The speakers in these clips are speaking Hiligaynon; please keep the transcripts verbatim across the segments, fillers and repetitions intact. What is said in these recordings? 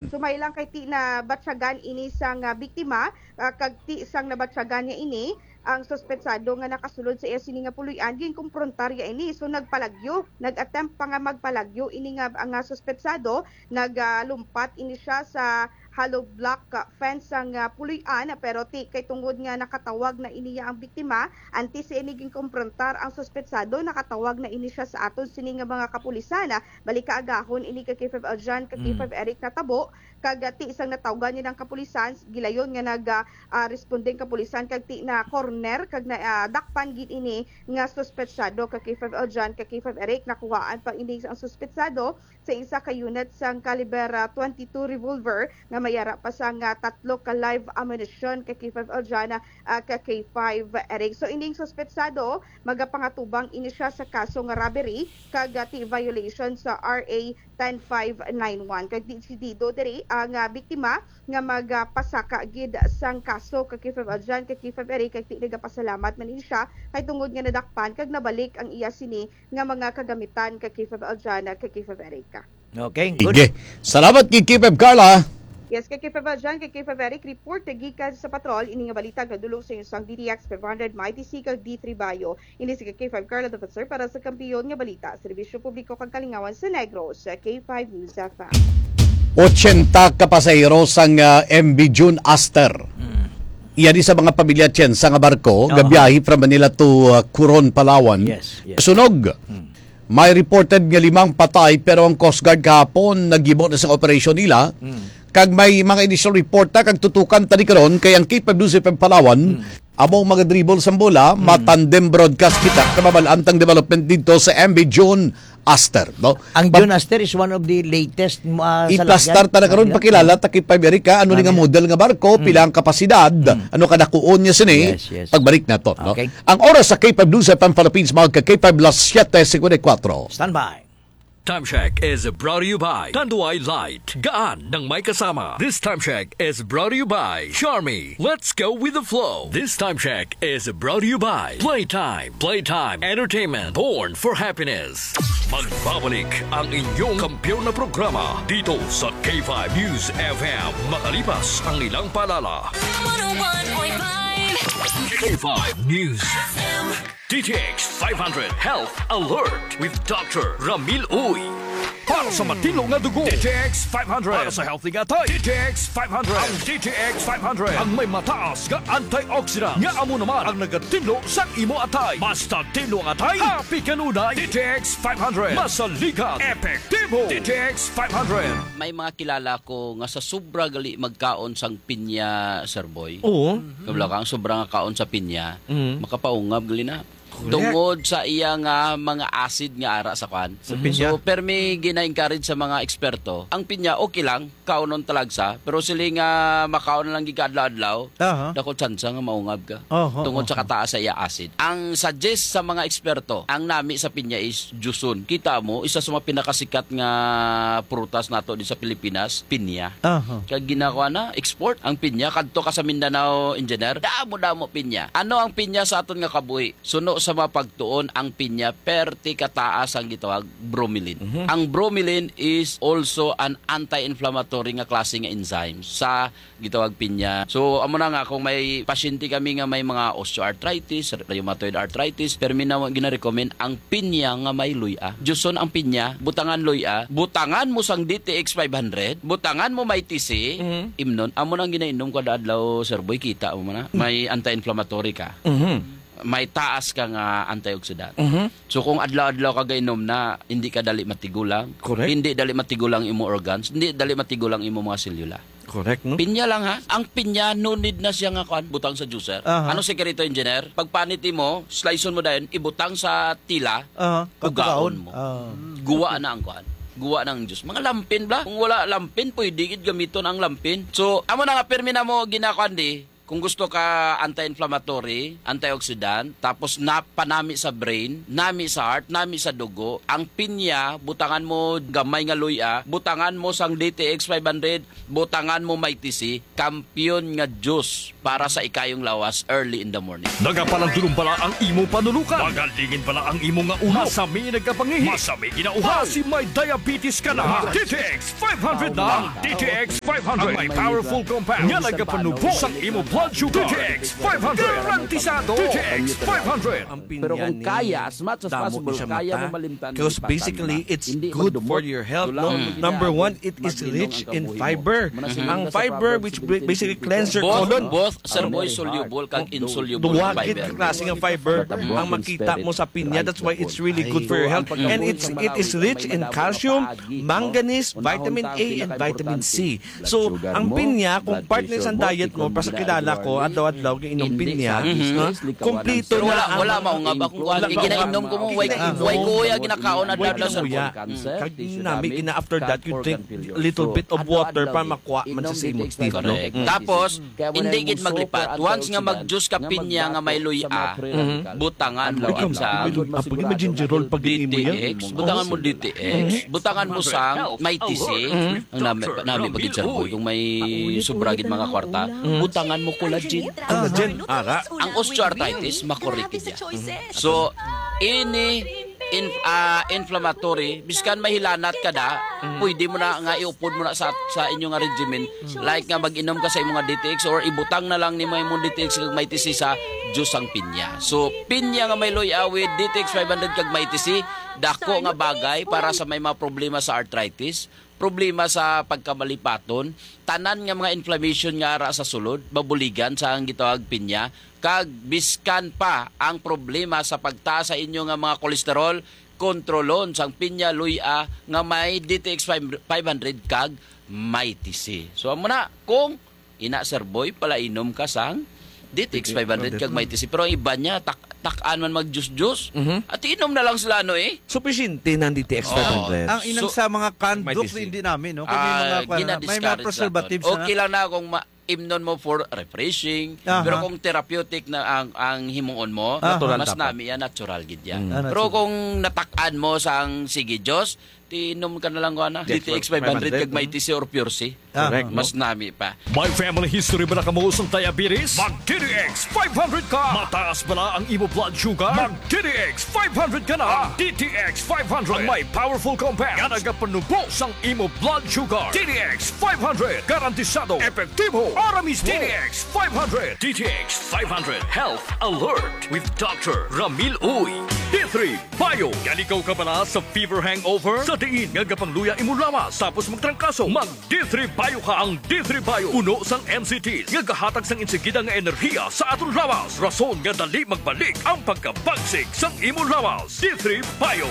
Sumay lang kay ti nabatyagan ini sang, ah, biktima, ah, kag ti sang nabatyagan niya ini, ang suspetsado nga nakasulod sa iya sini nga puloy-an, ginkumprontar ya ini. So, nagpalagyo, nag-attempt pa nga magpalagyo ini nga, nga suspetsado, nagalumpat ini siya sa hollow block, ah, fence sang, ah, puloy-an, pero ti kay tungod nga nakatawag na ini ya ang biktima, antes sa ini ginkumprontar ang suspetsado, nakatawag na ini siya sa aton sini nga mga kapulisan, ah, Balik kaagahon ini ka K five Aljan, ka Mm. K five Eric natabo, kag, ah, ti isang natawgan niya ng kapulisan, gilayon nga nag, ah, ah, responding kapulisan kag ti na corner kag na, ah, dakpan gid ini nga suspetsado ka K five Aljan, ka K five Eric. Nakuhaan pa ini ang suspetsado sa isa ka unit sang caliber, ah, twenty-two revolver nga may ara pa sang, ah, tatlo ka live ammunition ka K five Aljan, ah, ka K five Eric. So, ining suspetsado, magapangatubang ini siya sa kaso nga robbery kag, ah, ti violation sa R A ten five nine one. Kag desidido diri ang, ah, biktima nga magapasaka gid sang kaso ka K five Aljan, ka K five Eric, kag ti nagapasalamat man ini siya kay tungod nga nadakpan kag nabalik ang iya sini nga mga kagamitan ka K five Aljan, ka K five Eric. Okay, good. Sige. Salamat kay K five Carla. Yes, kay K five Aljan, kay K five Eric, report gikan sa patrol. Ini nga balita nagdulong sa inyo sang D T X five hundred, Mighty C, kag D three Bayo. Ini si K five Carla Defensor para sa Kampiyon nga Balita, Serbisyo Publiko kag Kalingawan sa Negros, sa K five News F M. Ochenta ka pasahero sang, ah, M V June Aster. Mm. Iya ni sa mga pamilya Chen sa nga barko, Oo. gabiyahe from Manila to, ah, Coron, Palawan. Yes, yes. Sunog. Mm. May reported nga limang patay, pero ang Coast Guard kahapon naghimo na sa operasyon nila. Mm. Kag may mga initial report na kag tutukan tani karon kay ang K five News F M Palawan, Mm. amo ang mga dribble sa bola, Mm. matandem broadcast kita, kamabalaan tang development dito sa M V June Aster, no? Ang Pag- June Aster is one of the latest, uh, Iplastar salagyan. ta na karon, Salagyan. pakilala ta kay Pabirika, ano ni nga Salagyan. model nga barko, Mm. pila ang kapasidad, Mm. ano kadakuon niya sini, Yes, yes. pagbalik nato, no? Okay. Ang oras sa K five News F M Philippines, mga ka K five, alas siyete cincuenta y cuatro. Standby. Time check is brought to you by Tanduay Light. Gaan ng may kasama. This time check is brought to you by Charmy. Let's go with the flow. This time check is brought to you by Playtime. Playtime Entertainment. Born for happiness. Magbabalik ang inyong kampiyon na programa dito sa K five News F M. Makalipas ang ilang paalala. One oh one point five. K five News F M. D T X five hundred Health Alert with Doctor Ramil Uy. Para sa matinlo nga dugo, D T X five hundred. Para sa healthy nga atay, D T X five hundred. Ang D T X five hundred ang may mataas nga antioxidant nga amo naman ang nagatinlo sa imo atay. Basta tinlo ang atay, happy kanunay. D T X five hundred. Masaligan, epektibo. D T X five hundred. May mga kilala ko nga sa sobra gali magkaon sang pinya, Sir Boy. Oo. Kabla ka, ang sobra nga kaon sa pinya, Mm. makapaungab gali na. Correct. Tungod sa iya nga mga acid nga ara sa kwan. Sa pinya. So, permi gina-encourage sa mga eksperto. Ang pinya, okay lang, kaonon talagsa, pero sila nga makaon lang gid ka adlaw-adlaw, Aha. dako tsansa nga maungab ka. Aha, Tungod sa aha. kataas sa iya acid. Ang suggest sa mga eksperto, ang nami sa pinya is juson. Kita mo, isa sa mga pinakasikat nga prutas nato di sa Pilipinas, pinya. Aha. Kag ginakuha na, export ang pinya. Kadto ka sa Mindanao, engineer, damo-damo pinya. Ano ang pinya sa aton nga kabuhi? Suno sa mga pagtuon, ang pinya perti kataas ang gitawag bromelain. Mhm. Ang bromelain is also an anti-inflammatory nga klase nga enzyme sa gitawag pinya. So, amo na nga, kung may pasyente kami nga may mga osteoarthritis, rheumatoid arthritis, permi na gina-recommend ang pinya nga may luya. Juson ang pinya, butangan luya, butangan mo sang D T X five hundred, butangan mo may T C, Mhm. imnon. Amo nang ginainom ko adlaw, Sir Boy, kita mo na. Mm. May anti-inflammatory ka. Mhm. May taas ka nga antioxidant. Mhm. So, kung adlaw-adlaw ka gainom na, hindi ka dali matigulang. Correct. Hindi dali matigulang imo organs, hindi dali matigulang imo mga selula. Correct, no? Pinya lang, ha? Ang pinya, no need na siya nga, kwan, butang sa juicer. Aha. Ano sekreto, engineer? Pagpanit mo, sliceon mo dayon, ibutang sa tila, Aha. ugaon Pagkaon. mo. Ah. Guwa na ang, kwan. Guwa na ang juice. Mga lampin, bla. Kung wala lampin, pwede gid gamiton ang lampin. So, amo na nga, permi na mo ginakuan di, Kung gusto ka anti-inflammatory, antioxidant, tapos na panami sa brain, nami sa heart, nami sa dugo, ang pinya, butangan mo gamay nga luya, butangan mo sang D T X five hundred, butangan mo Mighty C, kampiyon nga juice para sa ikayong lawas early in the morning. Nagapalandulong bala ang imo panulukan? Magalingin bala ang imo nga ulo? Masami nagkapangihi? Masami ginauhaw? Basi may diabetes ka na? Mag D T X five hundred na. Ang D T X five hundred ang may powerful compound nga nagapanubo sang imo blood sugar. D T X five hundred. Garantisado. D T X five hundred. Ang pinya ni damo ni siya mata. Because basically, it's good for your health, no? Number one, it is rich in fiber. Ang fiber, which ba- basically cleanse your colon. Both, both, sir, boy, soluble kag insoluble. Duwa gid ka klase nga fiber ang makita mo sa pinya. That's why it's really good for your health. And it's it is rich in calcium, manganese, vitamin A, and vitamin C. So, ang pinya, kung part na sa diet mo, pasakilala ko, adlaw-adlaw, giinom pinya, ha? Kompleto na ang wala, wala, mao nga ba kung kuan, ginainom ko mo, way, way kuya, ginakaon na dala sa kuya. Kag nami, ina, after that, you drink little bit of water para makuha man sa imong teeth, no? Correct. Tapos, hindi gid maglipat. Once nga mag-juice ka pinya nga may luya, butangan mo gid sa D T X, butangan mo D T X, butangan mo sang Mighty C. Ang nami, nami pa gid, sir, boy, kung may sobra gid mga kwarta, butangan mo collagen. Collagen, ara. Ang osteoarthritis, makorek gid yan. So, ini in, ah, inflammatory, biskan mahilanat ka da, pwede mo na nga iupod mo na sa, sa inyo nga regimen, like nga mag-inom ka sa imong D T X or ibutang na lang nimo imong D T X kag Mighty C sa juice sang pinya. So, pinya nga may luya with D T X five hundred kag Mighty C, dako nga bagay para sa may mga problema sa arthritis, problema sa pagkamalipaton, tanan nga mga inflammation nga ara sa sulod, mabuligan sa ang gitawag pinya, kag biskan pa ang problema sa pagtaas sa inyo nga mga kolesterol, kontrolon sang pinya luya nga may D T X five hundred kag Mighty C. So, amo na, kung ina, sir, boy, palainom ka sang D T X five hundred kag Mighty C. Pero ang iban niya, tak tak-an man mag-juice-juice. Mhm. At inom na lang sila, no, eh? Sufisyente na ang D T X five hundred. Ang inang sa mga canned drinks, hindi namin, no? Kung may mga, may mga preservatives na. Okay lang na kung ma-, imnon mo for refreshing, pero kung therapeutic na ang, ang himuon mo, natural mas nami yan, natural gid yan. Pero kung natak-an mo sang sige juice, tinom ka na lang, kuha na. D T X five hundred kag Mighty C or Pure C. Correct, no? Mas nami pa. May family history bala kamo sang diabetes? Mag D T X five hundred ka. Mataas bala ang imo blood sugar? Mag D T X five hundred ka na. Ang D T X five hundred ang may powerful compound nga nagapanubo sang imo blood sugar. D T X five hundred, garantisado, epektibo, para mismo. D T X five hundred. D T X five hundred Health Alert with Doctor Ramil Uy. D three Bio. Naligaw ka bala sa fever hangover? Sa diin nga gapangluya imo lawas tapos magtrangkaso, mag D three Bio ka. Ang D three Bio puno sang N C T nga gahatag sang insigida nga enerhiya sa aton lawas, rason nga dali magbalik ang pagkabagsik sang imo lawas. D three Bio.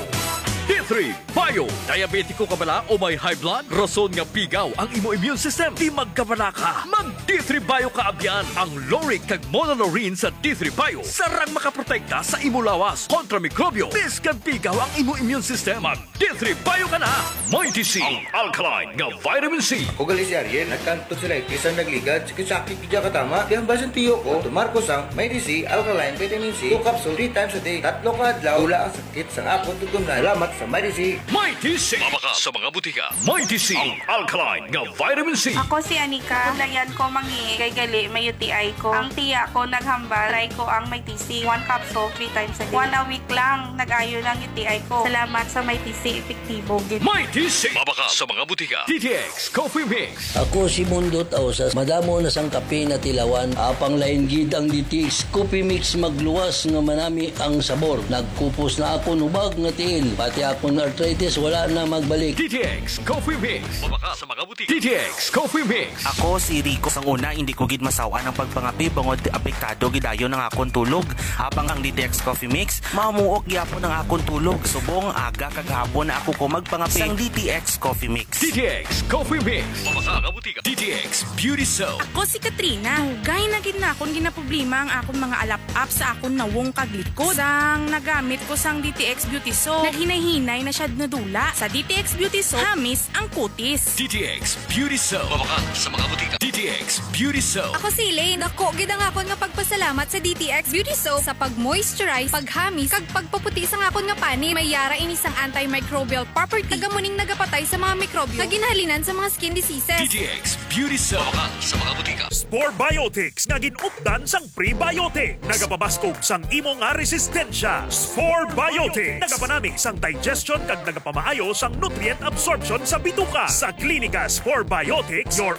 D three Bio. Diabetiko ka bala o may high blood? Rason nga pigaw ang imo immune system, di magkabala ka. Mag D three Bio ka abyan. Ang lauric kag monolaurin sa D three Bio sarang makaprotekta sa imo lawas kontra mikrobyo, biskan pigaw ang imo immune system. Mag D three Bio ka na. Mighty C, ang alkaline nga vitamin C. Ako gali si Ariel, nagkanto sila itis ang nagligad, sakit-sakit gid ka tama. Kaya ang basin tiyo ko, tumar ko sang Mighty C, alkaline vitamin C, two capsule, three times a day, tatlo ka adlaw, wala ang sakit sang akon tutumnan. Salamat sa Mighty C. Mighty C. Mabakal sa mga butika. Mighty C, ang alkaline nga vitamin C. Ako si Anika. Kulayan ko mangi kay gali may U T I ko. Ang tiya ko naghambal, try ko ang Mighty C. One capsule, three times a day. One a week lang, nag-ayo lang U T I ko. Salamat sa Mighty C, epektibo gid. Mighty C. Mabakal sa mga butika. D T X Coffee Mix. Ako si Mundo Tausas. Madamo na sang kape natilawan. Apang lain gid ang D T X Coffee Mix, magluwas nga manami ang sabor. Nagkupos na akon hubag nga tiil. Pati akon arthritis wala na magbalik. D T X Coffee Mix. Mabakal sa mga butika. D T X Coffee Mix. Ako si Rico. Sang una, hindi ko gid masaw-an ang pagpangape bangod apektado gid dayon ang akon tulog. Apang ang D T X Coffee Mix, mamuok gyapon ang akon tulog. Subong aga kag hapon na ako ko magpangape. Sang D T X Coffee Mix. D T X Coffee Mix. Mabakal sa mga butika. D T X Beauty Soap. Ako si Katrina. Dugay na gid na akon ginaproblema ang akon mga alap-ap sa akon nawong kag likod. Sang nagamit ko sang D T X Beauty Soap, naghinay-hinay Hinay na siya nadula. Sa D T X Beauty Soap, hamis ang kutis. D T X Beauty Soap. Mabakal sa mga butika. D T X Beauty Soap. Ako si Elaine. Dako gid ang akon nga pagpasalamat sa D T X Beauty Soap sa pag-moisturize, paghamis, kag pagpaputi sang akon nga panit. May yara ini sang antimicrobial property. Taga muning nagapatay sa mga mikrobyo nga ginhalinan sa mga skin diseases. D T X Beauty Soap. Mabakal sa mga butika. Spore Biotics nga gin-updan sang prebiotic. Nagapabaskog sang imo nga resistensya. Spore Biotics. Nagapanami sang digestion kag nagapamaayo sang nutrient absorption sa bituka. Sa Klinika Spore Biotics, your